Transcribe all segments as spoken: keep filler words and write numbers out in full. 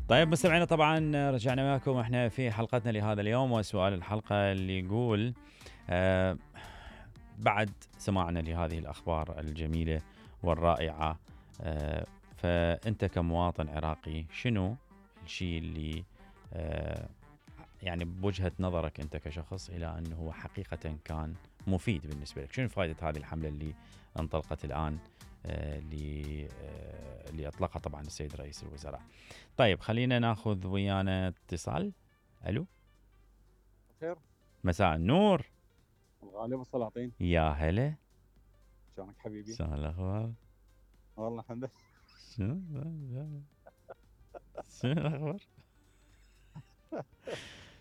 طيب مستمعينا، طبعا رجعنا معكم احنا في حلقتنا لهذا اليوم، وسؤال الحلقة اللي يقول آه بعد سماعنا لهذه الأخبار الجميلة والرائعة، آه فأنت كمواطن عراقي شنو الشيء اللي آه يعني بوجهة نظرك أنت كشخص إلى أنه هو حقيقة كان مفيد بالنسبة لك؟ شنو فائدة هذه الحملة اللي انطلقت الآن آه اللي آه اللي أطلقها طبعا السيد رئيس الوزراء؟ طيب خلينا ناخذ ويانا اتصال. ألو، خير، مساء النور. الغالب السلاطين، يا هلا، شلونك حبيبي؟ شلون الأخبار؟ والله الحمد لله. شنو شنو الأخبار؟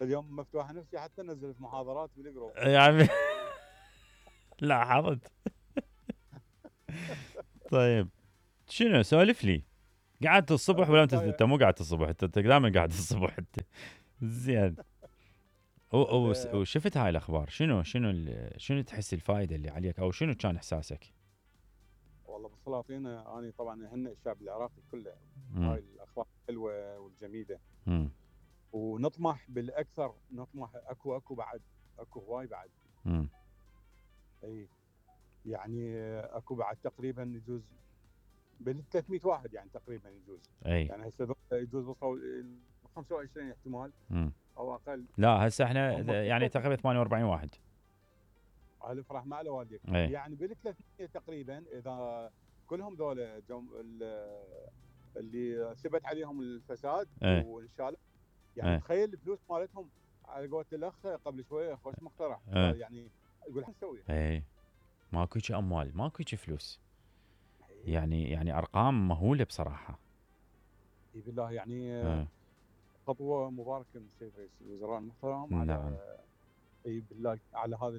اليوم مفتوحة نفسي حتى نزل في محاضرات بالجروب يا عمي لاحظت. طيب شنو سولف لي؟ قعدت الصبح ولا انت انت مو قعدت الصبح؟ انت دائما قاعد الصبح انت. زين. وشفت هاي الاخبار، شنو شنو شنو تحس الفائده اللي عليك، او شنو كان احساسك؟ والله بالسلاطين انا طبعا اهنئ الشعب العراقي كله هاي الاخبار الحلوه والجميله، مم. ونطمح بالاكثر، نطمح اكو اكو بعد اكو هواي بعد. امم اي يعني اكو بعد تقريبا يجوز بال ثلاثمية واحد يعني تقريبا يجوز. أي. يعني هسه يجوز وصلوا خمسة وعشرين احتمال مم. او اقل. لا هسه احنا يعني تقريبا ثمانية وأربعين واحد. على فرح مع والديك. أي. يعني بال ثلاثمية تقريبا اذا كلهم ذول اللي ثبت عليهم الفساد وانشالوا، يعني أي. تخيل الفلوس مالتهم على قولة الاخ قبل شويه خوش مقترح، يعني يقول ايش نسوي؟ اي ماكو شيء اموال، ماكو شيء فلوس. يعني يعني ارقام مهوله بصراحه. اي بالله يعني أه. خطوه مباركه من السيد رئيس الوزراء المحترم. نعم. على اي بالله على هذا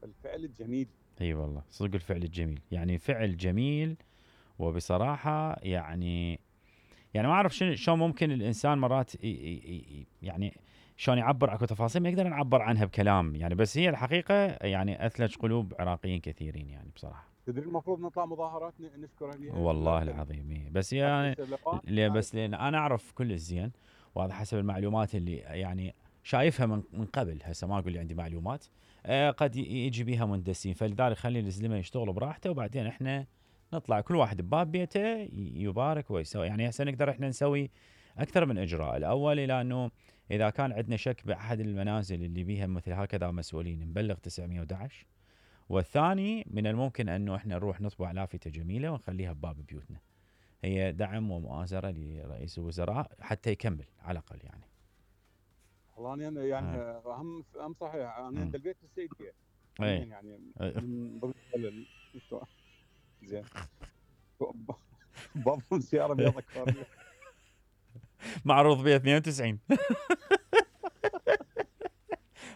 الفعل الجميل. اي والله صدق الفعل الجميل، يعني فعل جميل. وبصراحه يعني يعني ما اعرف شنو شلون ممكن الانسان مرات يعني شلون يعبر، اكو تفاصيل ما يقدر نعبر عنها بكلام يعني، بس هي الحقيقه يعني اثلج قلوب عراقيين كثيرين يعني بصراحه. تدري المفروض نطلع مظاهرات نشكر عليها والله العظيم، بس يعني ليه بس لان انا اعرف كل الزين، وهذا حسب المعلومات اللي يعني شايفها من من قبل. هسه ما اقول لي عندي معلومات آه قد يجي بيها مندسين، فلذلك خلي الزلمه يشتغلوا براحته، وبعدين احنا نطلع كل واحد بباب بيته يبارك ويسوي. يعني هسه نقدر احنا نسوي اكثر من اجراء. الاول الى انه اذا كان عندنا شك باحد المنازل اللي بيها مثل هكذا مسؤولين نبلغ تسعمية وأحد عشر، والثاني من الممكن انه احنا نروح نطبع لافتة جميلة ونخليها بباب بيوتنا. هي دعم ومؤازرة لرئيس الوزراء حتى يكمل على الاقل يعني. والله انا يعني اهم اهم صحيح انا عند البيت السيديه يعني من ضمن زين بابهم سياره بيضة كفاريه معروض بها اثنين وتسعين.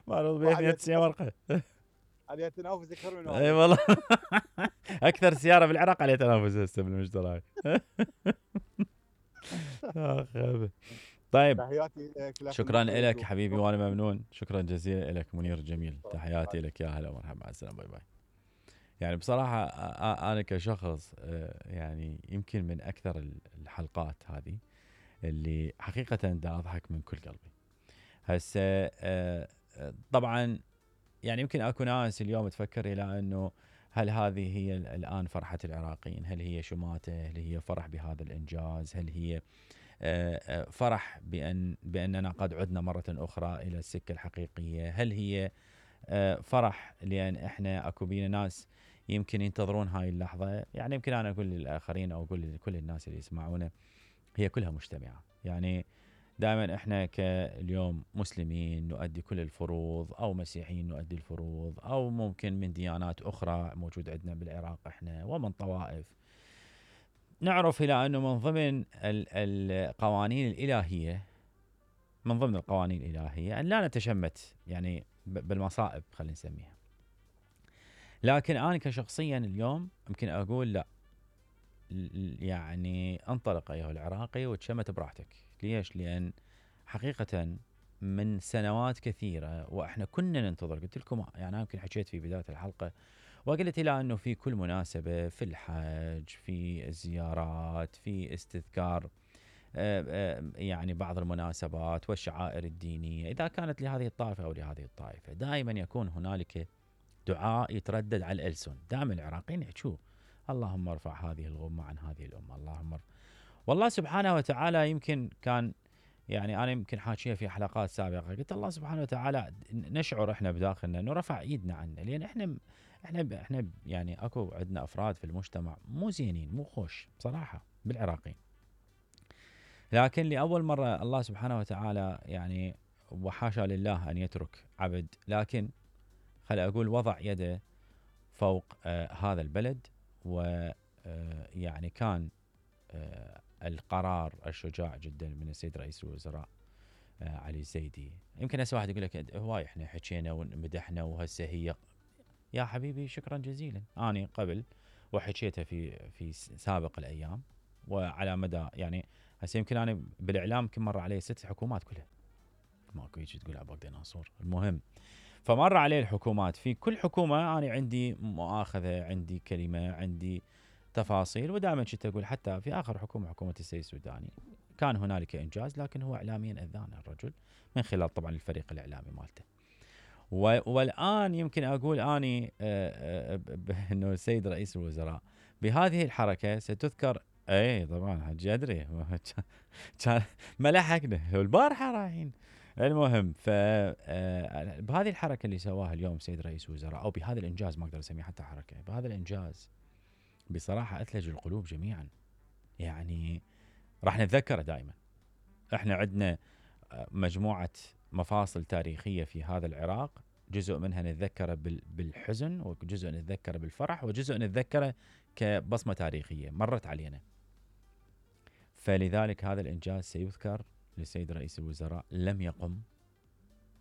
معروض بها اثنين وتسعين ورقه عليها تنافس اكثر من اي والله. اكثر سياره بالعراق عليها تنافس هسه بالمشترى. طيب شكرا لك حبيبي وانا ممنون، شكرا جزيلا لك منير جميل، تحياتي لك، يا هلا ومرحبا، مع السلامه، باي باي. يعني بصراحه انا كشخص يعني يمكن من اكثر الحلقات هذه اللي حقيقه دا اضحك من كل قلبي. هسه طبعا يعني يمكن اكو ناس اليوم تفكر الى انه هل هذه هي الان فرحه العراقيين؟ هل هي شماته؟ هل هي فرح بهذا الانجاز؟ هل هي فرح بان باننا قد عدنا مره اخرى الى السكه الحقيقيه؟ هل هي فرح لان احنا اكو بينا ناس يمكن ينتظرون هاي اللحظه؟ يعني يمكن انا اقول للاخرين او اقول لكل الناس اللي يسمعونا، هي كلها مجتمعه. يعني دائما احنا كاليوم مسلمين نؤدي كل الفروض، او مسيحيين نؤدي الفروض، او ممكن من ديانات اخرى موجود عندنا بالعراق احنا، ومن طوائف. نعرف الى انه من ضمن القوانين الالهيه، من ضمن القوانين الالهيه ان لا نتشمت يعني بالمصائب خلينا نسميها. لكن انا كشخصيا اليوم يمكن اقول لا، يعني انطلق ايها العراقي وتشمت براحتك. ليش؟ لان حقيقه من سنوات كثيره واحنا كنا ننتظر، قلت لكم يعني انا يمكن حكيت في بدايه الحلقه وقلت الى انه في كل مناسبه، في الحج، في الزيارات، في استذكار يعني بعض المناسبات والشعائر الدينية إذا كانت لهذه الطائفة أو لهذه الطائفة، دائما يكون هنالك دعاء يتردد على الألسن. دائما العراقيين يحكوا اللهم ارفع هذه الغمة عن هذه الأمة، اللهم ارفع. والله سبحانه وتعالى يمكن كان يعني أنا يمكن حاكيها في حلقات سابقة، قلت الله سبحانه وتعالى نشعر إحنا بداخلنا إنه رفع إيدنا عنه، لأن إحنا إحنا إحنا يعني أكو عندنا أفراد في المجتمع مو زينين مو خوش بصراحة بالعراقيين، لكن لأول مرة الله سبحانه وتعالى يعني وحاشا لله أن يترك عبد، لكن خل أقول وضع يده فوق آه هذا البلد، ويعني آه كان آه القرار الشجاع جدا من السيد رئيس الوزراء آه علي الزيدي. يمكن هسه واحد يقول لك هواي احنا حكينا ومدحنا وهسه هي، يا حبيبي شكرا جزيلا. أنا قبل وحكيتها في في سابق الأيام وعلى مدى يعني هسه يمكن أنا بالإعلام يمكن مر علي ست حكومات كلها، ماكو يجي تقول عباقدي ناصور، المهم فمر عليه الحكومات، في كل حكومة أنا عندي مؤاخذة، عندي كلمة، عندي تفاصيل، ودائما كنت أقول حتى في آخر حكومة حكومة السيد السوداني كان هنالك إنجاز، لكن هو إعلاميا أذان الرجل من خلال طبعا الفريق الإعلامي مالته. والآن يمكن أقول أني أنه السيد رئيس الوزراء بهذه الحركة ستذكر، اي طبعا حجي ادري كان ما لحقنا البارحه رايحين. المهم ف بهذه الحركه اللي سواها اليوم سيد رئيس الوزراء، او بهذا الانجاز ما اقدر اسميه حتى حركه، بهذا الانجاز بصراحه اثلج القلوب جميعا. يعني راح نتذكره دائما. احنا عندنا مجموعه مفاصل تاريخيه في هذا العراق، جزء منها نتذكره بالحزن، وجزء نتذكره بالفرح، وجزء نتذكره كبصمه تاريخيه مرت علينا. فلذلك هذا الانجاز سيذكر للسيد رئيس الوزراء لم يقم.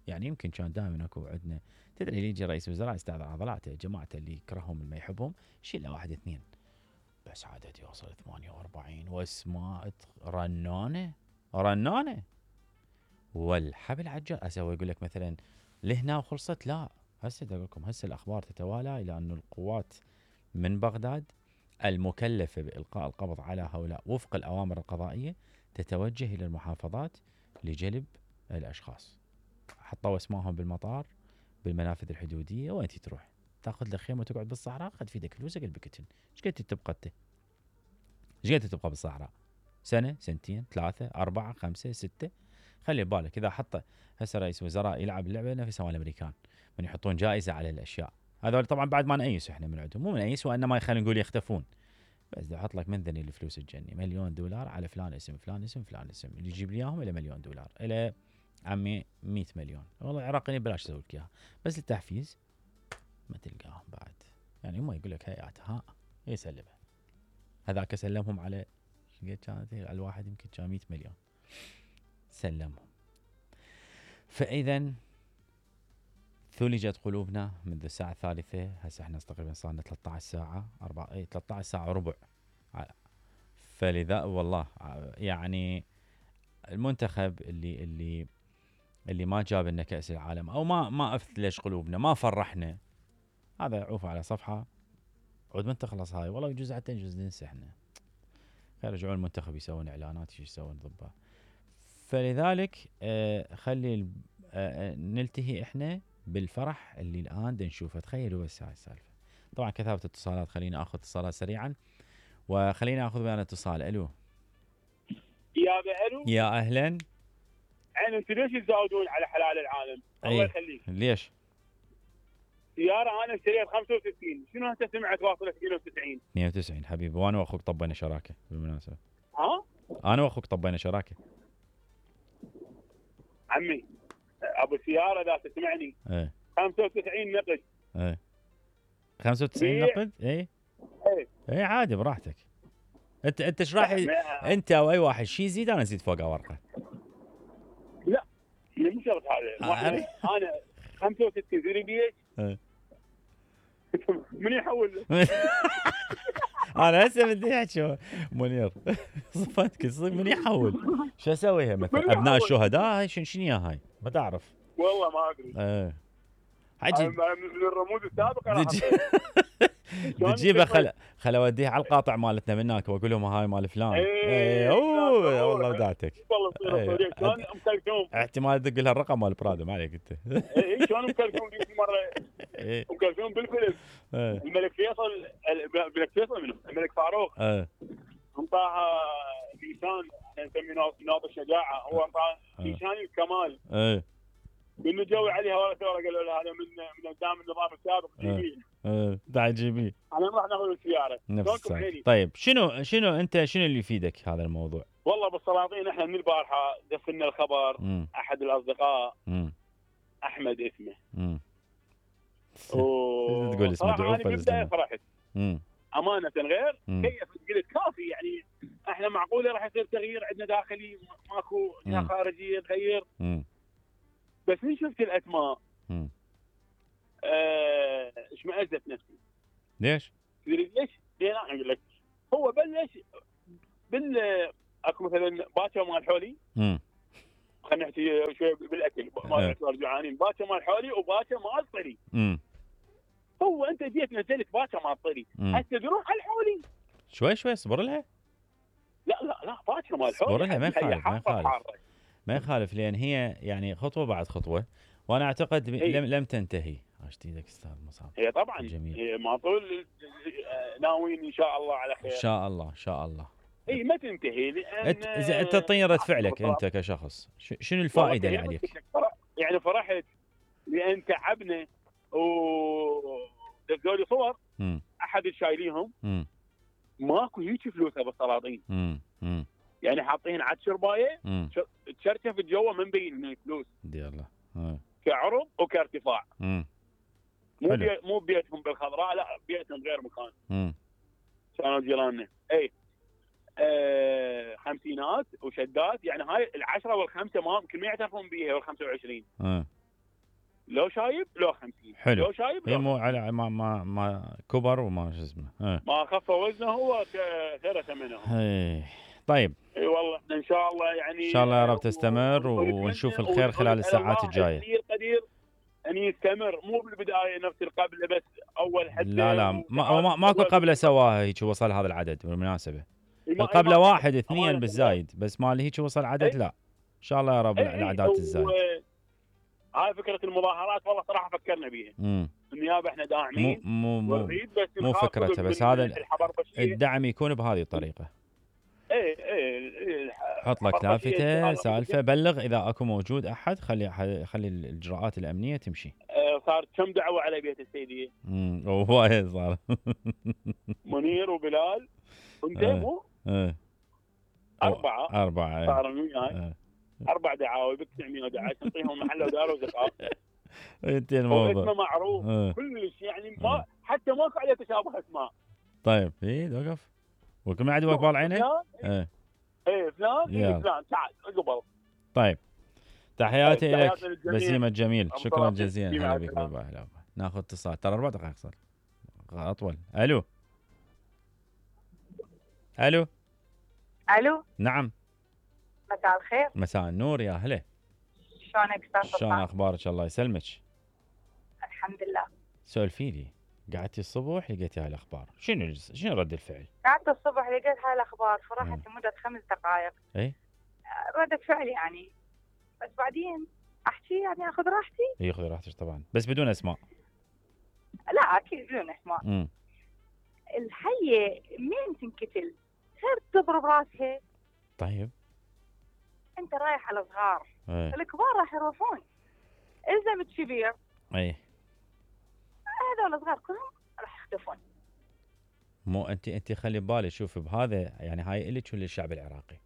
يعني يمكن كان دائما اكو عندنا، تدري اللي يجي رئيس الوزراء يستعذر عضلاته، جماعته اللي يكرههم اللي ما يحبهم شيل له واحد اثنين، بس عدد يوصل ثمانية وأربعين واسماء رنانه رنانه والحبل عجل. اسوي يقول لك مثلا لهنا وخلصت، لا هسه اقول لكم هسه الاخبار تتوالى الى ان القوات من بغداد المكلفه بالقاء القبض على هؤلاء وفق الاوامر القضائيه تتوجه الى المحافظات لجلب الاشخاص. حطوا اسمائهم بالمطار بالمنافذ الحدوديه، وين تروح؟ تاخذ لك خيمه وتقعد بالصحراء، خذ في ايدك فلوسك البكتن. ايش قد تبقى انت؟ ايش قد تبقى بالصحراء؟ سنه، سنتين، ثلاثه، اربعه، خمسه، سته؟ خلي بالك اذا حط هسه رئيس وزراء يلعب اللعبه نفسها مال الامريكان من يحطون جائزه على الاشياء هذول، طبعا بعد ما نقيس احنا من عندهم، مو من نقيس وانما خلينا نقول يختفون، بس يحط لك من ذني الفلوس الجني مليون دولار على فلان اسم فلان اسم فلان اسم، اللي يجيب لي اياهم الى مليون دولار، الى عمي مئة مليون. والله العراقيين بلاش يسوي لك اياها، بس التحفيز ما تلقاهم بعد. يعني هم يقول لك هيئات ها يسلمها، هذاك سلمهم على كانت الواحد يمكن كان مئة مليون سلمهم. فاذا ثلجت قلوبنا منذ الساعة الثالثة، هسه احنا تقريبا صار لنا ثلاثة عشر ساعة، أربعة اي ثلاثة عشر ساعة وربع. فلذا والله يعني المنتخب اللي اللي اللي ما جاب لنا كأس العالم او ما ما اثلج قلوبنا، ما فرحنا، هذا عوف على صفحة عود من تخلص هاي، والله يجوز حتى يجوز ننسى احنا. خير رجعوا المنتخب يسوون اعلانات ايش يسوون ضبها. فلذلك آه خلي آه نلتهي احنا بالفرح اللي الان نشوفه. تخيلوا بس هاي السالفه. طبعا كثافه اتصالات، خلينا اخذ اتصالات سريعا وخلينا اخذ بيان اتصال. الو يا الو يا اهلا. عين انتم ليش تزاودون على حلال العالم؟ الله يخليك. ليش؟ سياره انا اشتريت خمسة وستين، شنو هسه سمعت واصله اثنين وتسعين؟ اثنين وتسعين حبيبي، وانا واخوك طبينا شراكه بالمناسبه. ها؟ انا واخوك طبينا شراكه. عمي ابو سياره اذا تسمعني ايه خمسة وتسعين نقد. ايه خمسة وتسعين نقد؟ ايه ايه ايه عادي براحتك. انت انت ايش راح انت او اي واحد شيء يزيد انا ازيد فوقه ورقه. لا مو شرط هذا. آه انا خمسة وستين زيري بي اتش ايه من يحول انا هسه بدي احكي منير صفتك تصير من يحول شو اسويها مثلا ابناء الشهداء هاي شنو يا هاي ما تعرف والله ما ادري. ايه حجي من الرموز السابقه بتجيبه خل خل اوديه على القاطع مالتنا من هناك واقول لهم هاي مال فلان. اي اوه والله ودعتك والله تصير صديق. شلون ام كلثوم احتمال تدق لها الرقم مال برادو ما عليك انت. اي شلون ام كلثوم ذيك مره ام كلثوم بالفيلم الملك فيصل الملك فيصل منه الملك فاروق انطاها نيشان نسميه ناط الشجاعه هو انطاها نيشان الكمال من جوي عليها ورا ثوره قالوا له هذا من من قدام النظام السابق جيبيه اه تعال جيبيه انا راح ناخذ السياره. طيب شنو شنو انت شنو اللي يفيدك هذا الموضوع؟ والله بالسلاطين احنا من البارحه دفنا الخبر م. احد الاصدقاء م. احمد اسمه امم و... تقول اسمه دعوه بالبدايه فرحت امم امانه غير كيف قلت كافي يعني احنا معقوله راح يصير تغيير عندنا داخلي ماكو جهه خارجيه تغير م. بس من شفت الاسماء آه... اشمئزت نفسي. ليش؟ ليش؟ ليه انا اقول لك هو بلش بال اكو مثلا باكر مال حولي امم خلينا نحكي شوي بالاكل ما يعتبر جوعانين باكر مال حولي وباكر مال طري امم هو انت جيت نزلت باكر مال طري هسه تروح على الحولي شوي شوي اصبر لها. لا لا لا باكر مال حولي اصبر لها ما يخالف ما يخالف ما يخالف لان هي يعني خطوه بعد خطوه وانا اعتقد لم لم تنتهي. عشت ايدك استاذ مصعب. هي طبعا جميل. هي ما طول ناويين ان شاء الله على خير ان شاء الله ان شاء الله. اي ما تنتهي لان انت انت تعطيني رد فعلك انت كشخص شنو الفائده اللي عليك؟ يعني فرحت لان تعبنا و دزوا لي صور م. احد الشايليهم ماكو هيك فلوسها بالسلاطين يعني حاطين عاد شربايه تشرشف جوا من بين من الفلوس دي الله كعرض وكارتفاع مم. مو بي... مو بيتهم بالخضراء لا بيتهم غير مكان امم كانوا جيراننا اي آه... خمسينات وشدات يعني هاي العشرة والخمسة ما يمكن ما يعترفون بيها والخمسة وعشرين امم لو شايب لو خمسين حلو لو شايب لو مو على ما ما ما كبر وما شو اسمه اه. ما خف وزنه هو كثر ثمنه اي طيب اي والله ان شاء الله يعني ان شاء الله يا رب تستمر و... ونشوف الخير خلال الساعات الجايه. قدير قدير ان يستمر مو بالبدايه نفس القبله بس اول حد لا لا ما ما ماكو قبله سواها هيك وصل هذا العدد بالمناسبه. القبله واحد اثنين بالزايد بس مال هيك وصل عدد لا ان شاء الله يا رب الاعداد تزداد. هاي فكره المظاهرات والله صراحه فكرنا بيها. امم النيابه احنا داعمين مو مو مو فكرتها بس هذا الدعم يكون بهذه الطريقه. ايه ايه حط لك لافته سالفه بلغ اذا اكو موجود احد خلي خلي الاجراءات الامنيه تمشي. اه صار كم دعوه على بيت السيديه؟ امم هوايه صار منير وبلال انت مو؟ ايه اربعه اربعه صاروا وياي اربع دعاوي ب تسعمية ودعاية نعطيهم محل ودار وزقاق. انت الموضوع اسمه معروف اه. كلش يعني ما اه. حتى ماكو عليه تشابه اسماء. طيب ايه وقف وكل ما عندي وقبال عينه؟ ايه ايه فلان ايه فلان تعال قبل. طيب تحياتي لك بسيم الجميل شكرا جزيلا هلا بك باي باي. ناخذ اتصال ترى اربع دقائق صار اطول. الو الو الو نعم مساء الخير. مساء النور يا هلا. شلونك استاذ؟ شلون اخبارك الله يسلمك؟ الحمد لله. سولفي لي قعدتي الصبح لقيتي هاي الاخبار شنو شنو رد الفعل؟ قعدت الصبح لقيت هاي الاخبار فرحت لمده خمس دقائق. اي ردة فعل يعني بس بعدين احكي يعني اخذ راحتي. اي خذي راحتك طبعا بس بدون اسماء. لا اكيد بدون اسماء. امم الحيه مين تنقتل غير تضرب راسها. طيب انت رايح على صغار ايه. الكبار راح يروحون اذا متكبير اي هذول الصغار كلهم راح يختفون. مو انت انت خلي ببالك شوف بهذا يعني هاي الك وللشعب العراقي.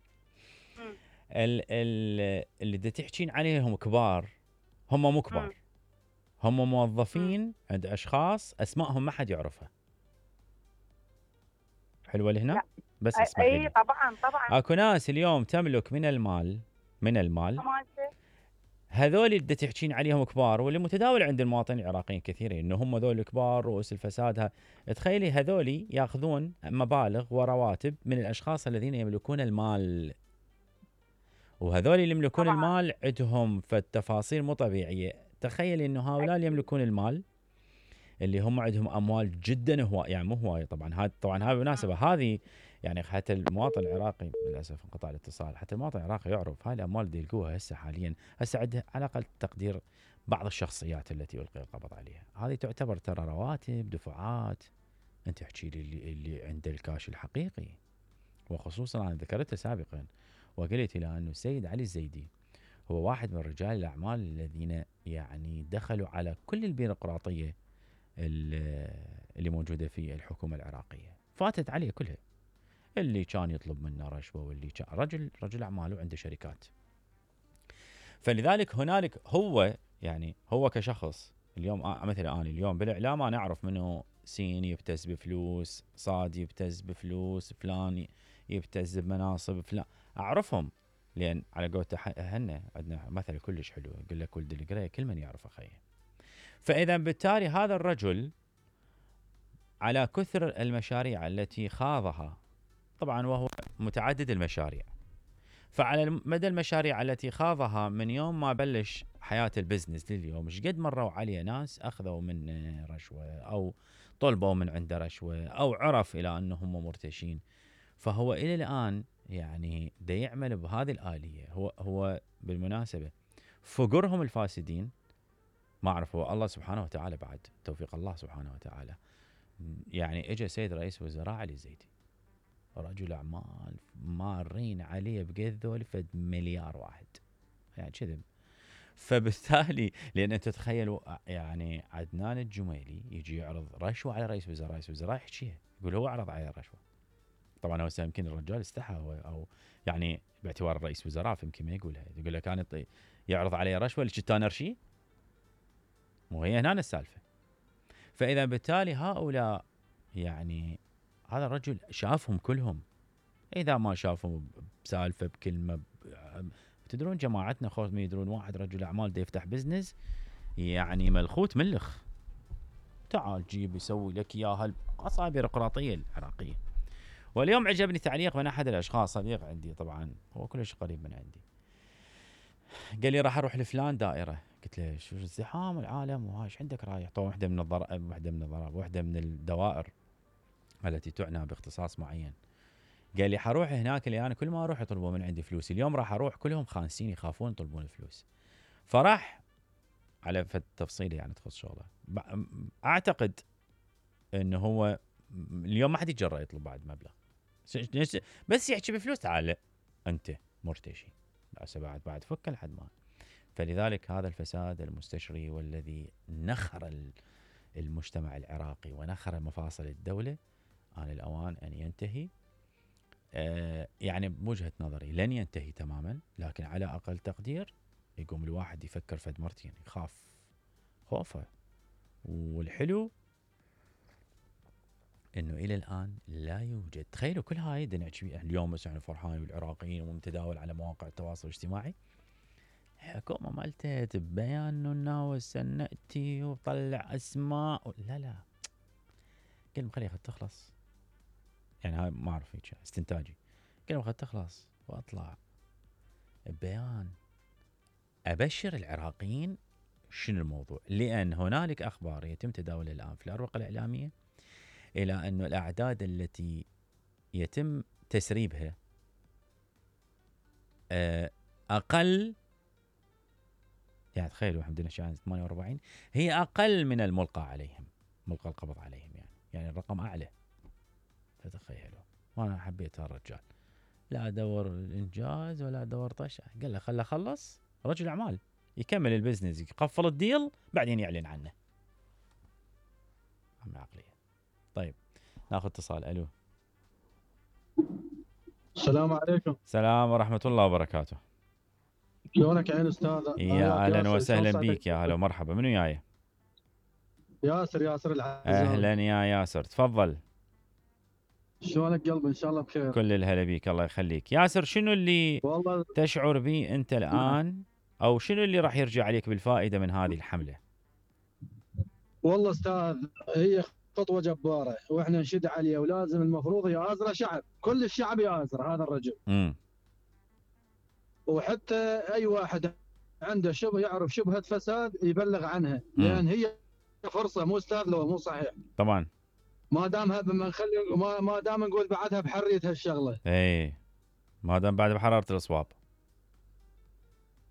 امم ال ال اللي دا تحكين عليهم كبار هم مو كبار. مم. هم موظفين مم. عند اشخاص اسمائهم ما حد يعرفها. حلوه لهنا؟ لا. بس اسمع اي طبعا طبعا اكو ناس اليوم تملك من المال من المال هذول اللي تحكين عليهم كبار واللي متداول عند المواطنين العراقيين كثيرين انه هم ذول كبار رؤوس الفساد. تخيلي هذول ياخذون مبالغ ورواتب من الاشخاص الذين يملكون المال وهذول اللي يملكون طبعا. المال عندهم فالتفاصيل مو طبيعيه. تخيلي انه هؤلاء اللي يملكون المال اللي هم عندهم اموال جدا هوايه، يعني مو هوايه طبعا، هذا طبعا هاي بالمناسبه هذه يعني حتى المواطن العراقي للاسف انقطع الاتصال، حتى المواطن العراقي يعرف هاي الاموال اللي يلقوها هسه حاليا، هسه عنده على اقل تقدير بعض الشخصيات التي يلقي القبض عليها، هذه تعتبر ترى رواتب دفعات. انت احكي لي اللي, اللي عنده الكاش الحقيقي، وخصوصا انا ذكرته سابقا وقلت الى انه السيد علي الزيدي هو واحد من رجال الاعمال الذين يعني دخلوا على كل البيروقراطيه اللي موجوده في الحكومه العراقيه، فاتت عليه كلها، اللي كان يطلب منه رشوه واللي كان رجل رجل اعمال وعنده شركات. فلذلك هنالك هو يعني هو كشخص اليوم مثلا انا اليوم بالاعلام انا اعرف منه سين يبتز بفلوس، صاد يبتز بفلوس، فلان يبتز بمناصب، فلان اعرفهم، لان على قولته هنا عندنا مثل كلش حلو يقول لك ولد القريه كل من يعرف اخيه. فاذا بالتالي هذا الرجل على كثر المشاريع التي خاضها، طبعا وهو متعدد المشاريع، فعلى مدى المشاريع التي خاضها من يوم ما بلش حياة البزنس لليوم، ايش قد مروا عليه ناس اخذوا منه رشوه او طلبوا من عنده رشوه او عرف الى انهم مرتشين. فهو الى الان يعني دا يعمل بهذه الآلية. هو هو بالمناسبة فقرهم الفاسدين ما اعرف، هو الله سبحانه وتعالى بعد توفيق الله سبحانه وتعالى، يعني اجى سيد رئيس وزراء علي الزيدي رجل اعمال مارين عليه بقد ذول فد مليار واحد يعني كذب. فبالتالي لان انت تتخيلوا يعني عدنان الجميلي يجي يعرض رشوه على رئيس وزراء، رئيس وزراء يحكيها يقول هو عرض عليه رشوه. طبعا هو يمكن الرجال استحى او يعني باعتبار الرئيس وزراء فيمكن ما يقولها، يقول لك كان يعرض عليه رشوه اللي كنت انا ارشي، مو هي هنا السالفه. فاذا بالتالي هؤلاء يعني هذا الرجل شافهم كلهم، اذا ما شافهم بسالفه بكلمه ب... تدرون جماعتنا خوف ما يدرون واحد رجل اعمال دا يفتح بزنس يعني ملخوت ملخ، تعال جيب يسوي لك اياها القصه البيروقراطيه العراقيه. واليوم عجبني تعليق من احد الاشخاص صديق عندي طبعا هو كلش قريب من عندي، قال لي راح اروح لفلان دائره، قلت له شو الزحام العالم وهاي ايش عندك رايح؟ طبعا واحده من الضرائب واحده من الضرائب واحده من الدوائر التي تعنى باختصاص معين. قال لي حروح هناك اللي انا كل ما اروح يطلبوا من عندي فلوس، اليوم راح اروح كلهم خانسين يخافون يطلبون الفلوس. فراح على فد تفصيله يعني تخص شغله، اعتقد انه هو اليوم ما حد يتجرأ يطلب بعد مبلغ، بس يحكي بفلوس تعال انت مرتشي بعد بعد فك لحد ما. فلذلك هذا الفساد المستشري والذي نخر المجتمع العراقي ونخر مفاصل الدولة آن الأوان أن ينتهي. آه يعني بوجهة نظري لن ينتهي تماما، لكن على أقل تقدير يقوم الواحد يفكر فد مرتين يخاف خوفه. والحلو انه الى الان لا يوجد، تخيلوا كل هاي اليوم بس يعني فرحان والعراقيين ومتداول على مواقع التواصل الاجتماعي، حكومه مالته بيان انه ناوي سنأتي وطلع اسماء، لا لا قل خليها تخلص، يعني هاي ما اعرف هيك استنتاجي، قل خليها تخلص واطلع بيان ابشر العراقيين شنو الموضوع. لان هنالك اخبار يتم تداولها الان في الاروقه الاعلاميه الى انه الاعداد التي يتم تسريبها اقل، يعني تخيلوا عندنا شان ثمانية وأربعين هي اقل من الملقى عليهم، ملقى القبض عليهم، يعني يعني الرقم اعلى. فتخيلوا، وانا حبيت هالرجال لا دور الانجاز ولا دور طش، قال له خله خلص رجل اعمال يكمل البزنس يقفل الديل بعدين يعلن عنه. عم عقليه. طيب ناخذ اتصال. الو السلام عليكم. السلام ورحمه الله وبركاته. شلونك يا عين استاذ؟ يا اهلا وسهلا بيك، يا هلا ومرحبا. منو جاي؟ ياسر ياسر العزام. اهلا يا ياسر، تفضل. شلونك قلبي؟ ان شاء الله بخير. كل الهلا بيك، الله يخليك. ياسر شنو اللي والله تشعر به انت الان، او شنو اللي راح يرجع عليك بالفائده من هذه الحمله؟ والله استاذ هي خطوه جباره واحنا نشد عليه، ولازم المفروض يآزره شعب، كل الشعب يآزر هذا الرجل. امم وحتى اي واحد عنده شبه يعرف شبهه فساد يبلغ عنها، لان هي فرصه مو استاذ لو مو صحيح طبعا ما دامها بنخلي ما, ما دام نقول بعدها بحريه هالشغله اي ما دام بعد بحراره الاصواب.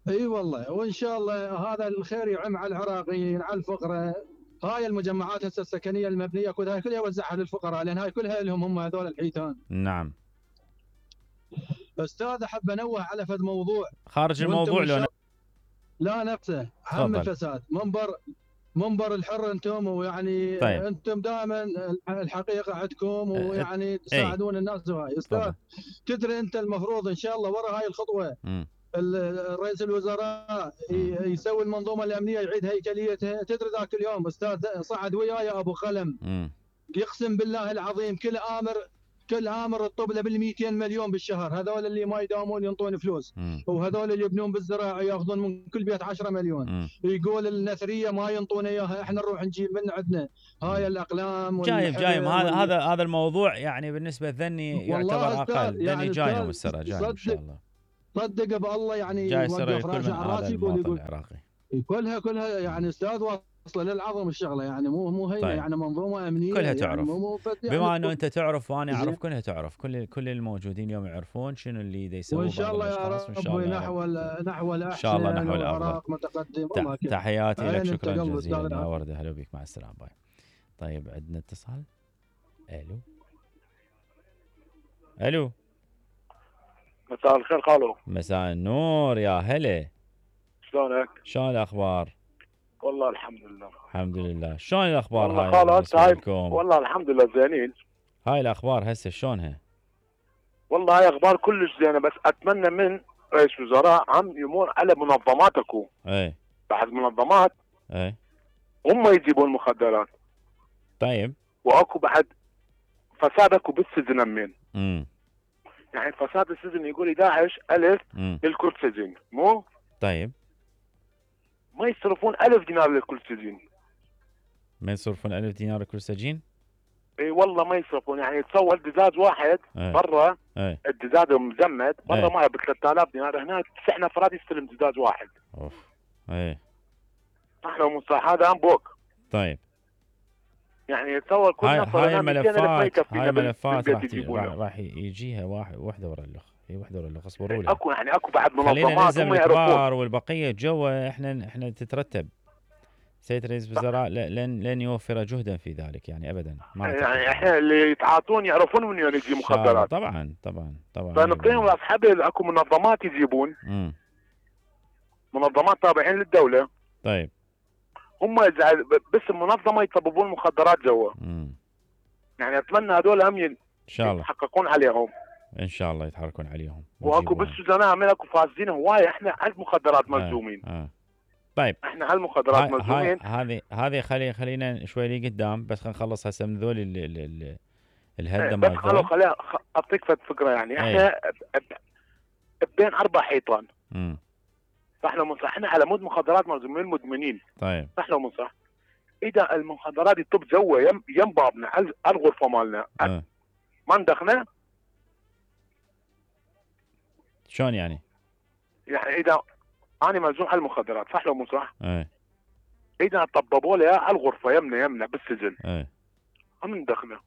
اي والله وان شاء الله هذا الخير يعم على العراقيين على الفقراء. هاي المجمعات هسه السكنيه المبنيه كلها كلها يوزعها للفقراء لان هاي كلها لهم هم هذول الحيتان. نعم استاذ احب انوه على فد موضوع خارج الموضوع لو لا نفسه هم الفساد. منبر منبر الحر انتم ويعني طيب. انتم دائما الحقيقه عندكم ويعني تساعدون الناس وهاي استاذ. تدري انت المفروض ان شاء الله ورا هاي الخطوه م. رئيس الوزراء يسوي المنظومه الامنيه يعيد هيكليتها. تدري ذاك اليوم استاذ صعد وياي ابو خلم م. يقسم بالله العظيم كل امر كل امر الطب له بال مئتين مليون بالشهر. هذول اللي ما يداومون ينطون فلوس م. وهذول اللي يبنون بالزراعه ياخذون من كل بيت عشرة مليون م. يقول النثريه ما ينطون اياها احنا نروح نجيب من عندنا هاي الاقلام جايب جايب هذا هذا هذا الموضوع يعني بالنسبه ذني يعتبر اقل ذني يعني جايهم السرعه جاي ان شاء الله صدق بالله يعني جاي السرعه يقول من هذا المواطن العراقي كلها كلها يعني استاذ واصله للعظم الشغله يعني مو مو هي طيب. يعني منظومه امنيه كلها تعرف يعني مو يعني بما انه انت تعرف وانا اعرف كلها تعرف كل كل الموجودين اليوم يعرفون شنو اللي دا يسوون وان شاء الله يا رب نحو نحو الاحسن ان شاء الله نحو الافضل متقدم. تحياتي لك شكرا جزيلا يا ورده هلا بك مع السلامه باي. طيب عندنا اتصال. الو الو مساء الخير خالو. مساء النور يا هلا. شلونك؟ شلون الاخبار؟ والله الحمد لله. الحمد لله. شلون الاخبار والله هاي؟ خالص هاي والله الحمد لله زينين. هاي الاخبار هسه شلونها؟ والله هاي اخبار كلش زينه بس اتمنى من رئيس وزراء عم يمر على منظمات اكو. اي بعد منظمات اي هم يجيبون المخدرات. طيب واكو بعد فساد اكو بالسجن همين. امم يعني فساد السجن يقول داعش ألف للكل سجن مو؟ طيب ما يصرفون ألف دينار لكل سجين. ما يصرفون ألف دينار لكل سجين؟ اي والله ما يصرفون. يعني تصور دجاج واحد برا الدجاج مزمد برا ما ب ثلاثة آلاف دينار. هنا تسع نفرات يستلم دجاج واحد. اوف اي صح لو مو صح هذا بوك. طيب يعني تصور كل هاي نفر هاي الملفات هاي الملفات راح راح يجيها واحد وحده ورا الاخ. هي وحده ورا الاخ اصبروا لي. اكو يعني اكو بعد منظمات هم يعرفون والبقيه جوا احنا احنا تترتب. سيد رئيس الوزراء لن لن يوفر جهدا في ذلك يعني ابدا. ما يعني احنا اللي يتعاطون يعرفون من وين يجي مخدرات. طبعا طبعا طبعا. فنعطيهم اصحاب اكو منظمات يجيبون. امم منظمات تابعين للدوله. طيب هم بس المنظمه يطببون المخدرات جوا. امم يعني اتمنى هذول هم ان شاء الله يتحققون عليهم. ان شاء الله يتحركون عليهم. واكو بالسجناء هم اكو فاسدين هوايه. احنا على المخدرات ملزومين. آه. آه. طيب احنا على المخدرات ملزومين. هذه هذه خلي خلينا شوي لي قدام بس خلينا نخلص هسه من ذول الهده مال بس خلوا خليها اعطيك فكره يعني احنا بين اربع حيطان. امم صح لو مو صح؟ احنا على مود مخدرات ملزومين مدمنين. طيب صح لو مو صح؟ اذا المخدرات يطب جوا يم يم بابنا على الغرفه مالنا أه. ما ندخنه. شلون يعني؟ يعني اذا انا ملزوم على المخدرات صح لو مو صح؟ ايه اذا طببوا لي على الغرفه يمنا يمنا بالسجن ايه هم ندخنه.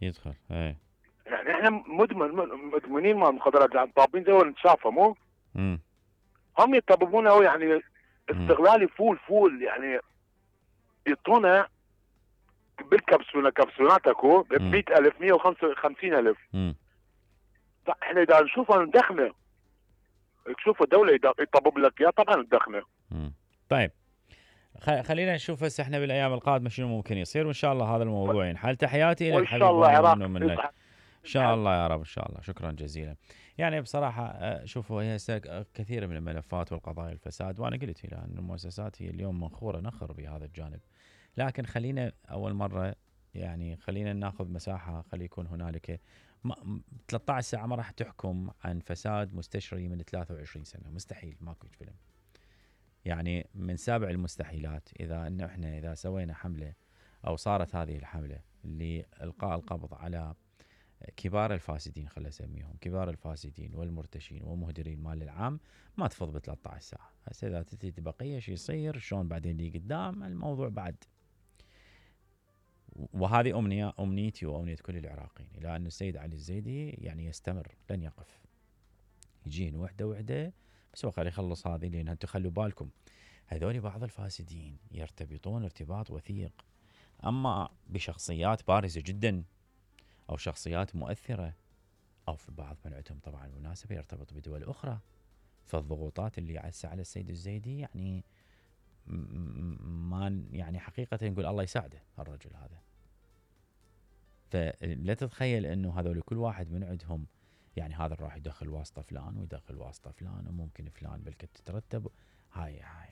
يدخل ايه يعني احنا مدمن مدمنين مال المخدرات طابين جوا نتشافى مو؟ امم هم يطببونه يعني استغلالي فول فول يعني يعطونا بالكبسوله كبسولات اكو ب مئة ألف مئة وخمسين ألف. امم احنا اذا نشوفها ندخنه. تشوف الدوله يطبب لك اياه طبعا ندخنه. امم طيب خلينا نشوف هسه احنا بالايام القادمه شنو ممكن يصير وان شاء الله هذا الموضوع ينحل. تحياتي لك حبيبي. ان شاء الله عراق منك. ان شاء الله يا رب ان شاء الله. شكرا جزيلا. يعني بصراحه شوفوا هي كثير من الملفات والقضايا الفساد وانا قلت الى ان المؤسسات هي اليوم منخوره نخر بهذا الجانب. لكن خلينا اول مره يعني خلينا ناخذ مساحه خلي يكون هنالك ثلاثة عشر ساعه ما راح تحكم عن فساد مستشري من ثلاثة وعشرين سنه. مستحيل ماكو فيلم. يعني من سابع المستحيلات اذا ان احنا اذا سوينا حمله او صارت هذه الحمله لالقاء القبض على كبار الفاسدين، خلينا نسميهم كبار الفاسدين والمرتشين ومهدرين المال العام ما تفض ب ثلاثة عشر ساعه. هسه اذا تتي بقيه شو يصير، شلون بعدين اللي قدام الموضوع بعد. وهذه امنيه امنيتي وامنيه كل العراقيين، الى ان السيد علي الزيدي يعني يستمر لن يقف، يجين وحده وحده بس هو خلي يخلص هذه. لان انتم خلوا بالكم هذول بعض الفاسدين يرتبطون ارتباط وثيق اما بشخصيات بارزه جدا او شخصيات مؤثره، او في بعض من عندهم طبعا بالمناسبه يرتبط بدول اخرى. فالضغوطات اللي عسى على السيد الزيدي يعني ما يعني حقيقه نقول الله يساعده الرجل هذا. فلا تتخيل انه هذول كل واحد من عندهم يعني هذا راح يدخل واسطه فلان ويدخل واسطه فلان وممكن فلان بلكت تترتب. هاي هاي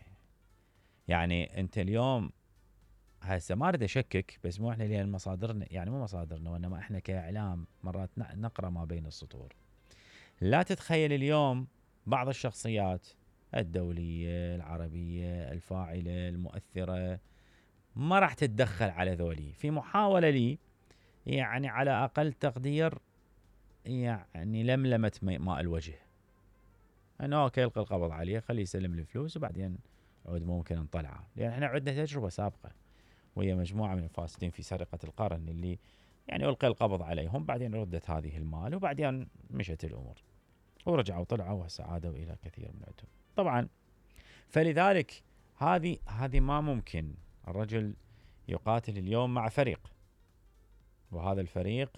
يعني انت اليوم هسه ما اريد اشكك بس مو احنا لان مصادرنا يعني مو مصادرنا وانما احنا كاعلام مرات نقرا ما بين السطور. لا تتخيل اليوم بعض الشخصيات الدوليه العربيه الفاعله المؤثره ما راح تتدخل على ذولي في محاوله لي يعني على اقل تقدير يعني لملمه ماء الوجه، انه اوكي القى القبض عليه خليه يسلم الفلوس وبعدين عود ممكن نطلعه. لان احنا عندنا تجربه سابقه وهي مجموعه من الفاسدين في سرقه القرن اللي يعني القي القبض عليهم بعدين ردت هذه المال وبعدين مشت الامور ورجعوا طلعوا وهسه عادوا الى كثير من عندهم طبعا. فلذلك هذه هذه ما ممكن الرجل يقاتل اليوم مع فريق وهذا الفريق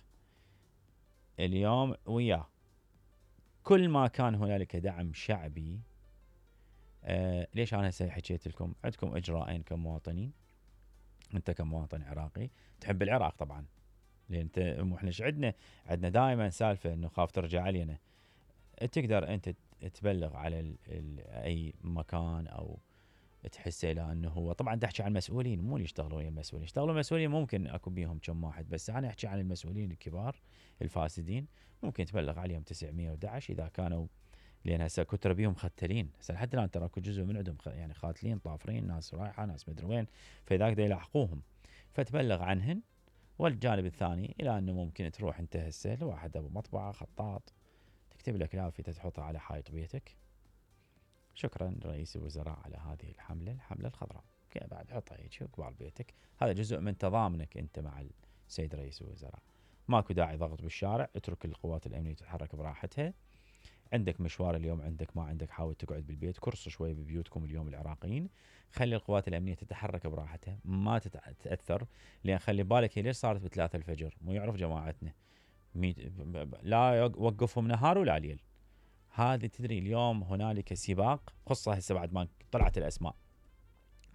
اليوم وياه كل ما كان هنالك دعم شعبي. آه ليش انا هسه حكيت لكم عندكم اجراءين كمواطنين، انت كمواطن عراقي تحب العراق طبعا لان انت احنا ايش عندنا عندنا دائما سالفه انه خاف ترجع علينا. تقدر انت تبلغ على ال ال اي مكان او تحس الى انه هو طبعا تحكي عن المسؤولين مو اللي يشتغلون المسؤولين، يشتغلون المسؤولين ممكن اكو بيهم كم واحد بس انا احكي عن المسؤولين الكبار الفاسدين ممكن تبلغ عليهم تسعمية وأحد عشر اذا كانوا لان هسه كثر بيهم ختلين هسه لحد الان ترى اكو جزء من عندهم يعني خاتلين طافرين ناس رايحه ناس مدري وين فذاك دا يلاحقوهم فتبلغ عنهن. والجانب الثاني الى انه ممكن تروح انت هسه لواحد ابو مطبعه خطاط تكتب لك لافته تحطها على حائط بيتك شكرا رئيس الوزراء على هذه الحمله الحمله الخضراء بعد حطها هيك قبال بيتك. هذا جزء من تضامنك انت مع السيد رئيس الوزراء. ماكو داعي ضغط بالشارع اترك القوات الامنيه تتحرك براحتها. عندك مشوار اليوم عندك ما عندك حاول تقعد بالبيت كرسوا شوي ببيوتكم اليوم العراقيين خلي القوات الامنيه تتحرك براحتها ما تتاثر. لان خلي بالك هي ليش صارت بثلاثة الفجر مو يعرف جماعتنا لا وقفهم نهار ولا ليل. هذه تدري اليوم هنالك سباق خصه هسه بعد ما طلعت الاسماء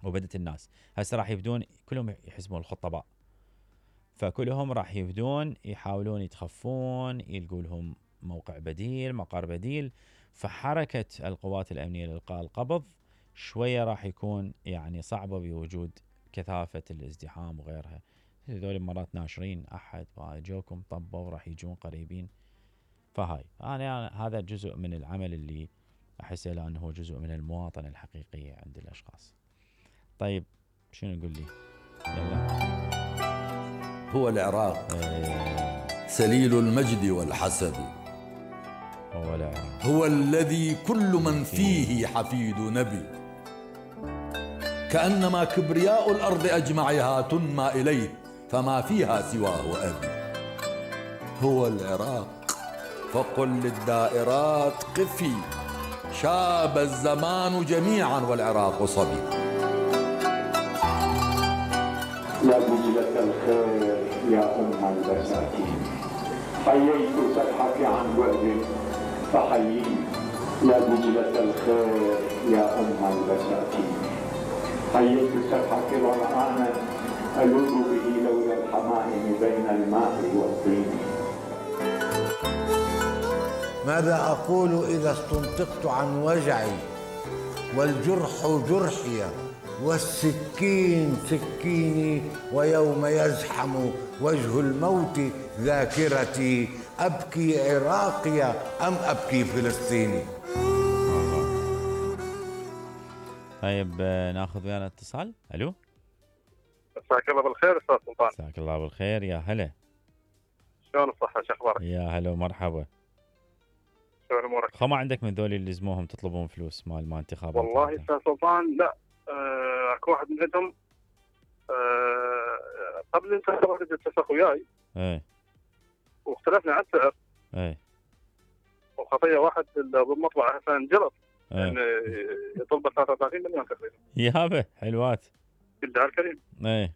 وبدت الناس هسه راح يبدون كلهم يحسبون الخطباء فكلهم راح يبدون يحاولون يتخفون يلقوا لهم موقع بديل مقر بديل. فحركه القوات الامنيه لالقاء القبض شويه راح يكون يعني صعبه بوجود كثافه الازدحام وغيرها. هذول مرات ناشرين احد جوكم طبوا راح يجون قريبين. فهاي انا هذا جزء من العمل اللي احس له انه هو جزء من المواطنه الحقيقيه عند الاشخاص. طيب شنو نقول لي؟ يلا هو العراق ايه. سليل المجد والحسب هو العراق هو الذي كل من فيه حفيد نبي كأنما كبرياء الأرض أجمعها تنمى إليه فما فيها سواه أبي. هو العراق فقل للدائرات قفي شاب الزمان جميعا والعراق صبي. يا دجلة الخير يا أم البساتين حييت سبحك عن بعد فحييني. يا دجلة الخير يا أم البساتين حييت سبحك ظمآنا ألوذ به لولا الحمائم بين الماء والطين. ماذا أقول إذا استنطقت عن وجعي والجرح جرحي والسكين سكيني ويوم يزحم وجه الموت ذاكرتي أبكي عراقي أم أبكي فلسطيني. طيب ناخذ ويانا اتصال. الو مساك الله بالخير استاذ سلطان. مساك الله بالخير يا هلا. شلون الصحة؟ شو اخبارك؟ يا هلا ومرحبا. شلون امورك؟ خو ما عندك من ذولي اللي لزموهم تطلبون فلوس مال ما انتخابات؟ والله استاذ سلطان لا آه، اكو واحد من عندهم آه، قبل الانتخابات اتفق وياي ايه واختلفنا على السعر. ايه وخطيه واحد بالمطبعه هسه انجلط ايه يعني يطلب ثلاثة وثلاثين مليون تقريبا. يابا حلوات. بالله الكريم. ايه